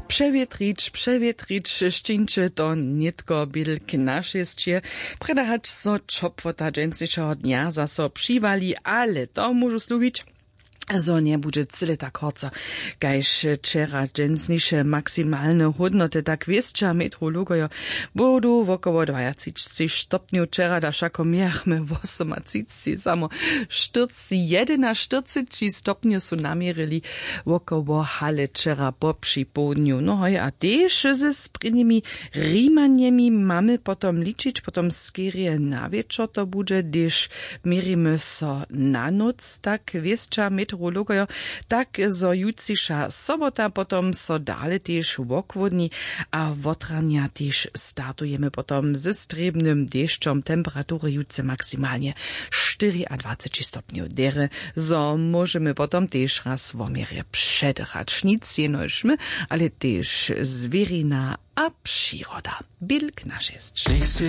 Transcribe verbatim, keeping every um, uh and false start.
Přewětrić přewětrić, šćińće to nětko běl k našesće, prjedy hač so ćopłota dźensnišeho dnja zaso přiwali, ale to móžu slubić, zo njebudźe cyle tak horco kaž wčera. Dźensniše maksimalne hódnoty, tak wěsća metrologojo, budu wokoło dwajatřiceći stopnjow, wčera da wšako mějachmy wosomajtřiceći samo štyrc jedynaštyrceći stopnjow su naměrili wokoło hale wčera po připołdnju. No hoj, a tež ze sprěnjemi rimanjemi mamy potom ličić potom skerje na wječor to budźe hdyž měrimy so na nóc, tak wěsća meteorologojo, tak zo jutřiša sobota potom so dale tež wochłódni a wotranja tež startujemy potom ze strěbnym dešćom. Temperatury jutře maksimalnje štyriadwaceći stopnjow derje, zo móžemy potom tež raz woměrje předrać nic jenož my, ale tež zwěrina a přiroda. Bilk na šesć.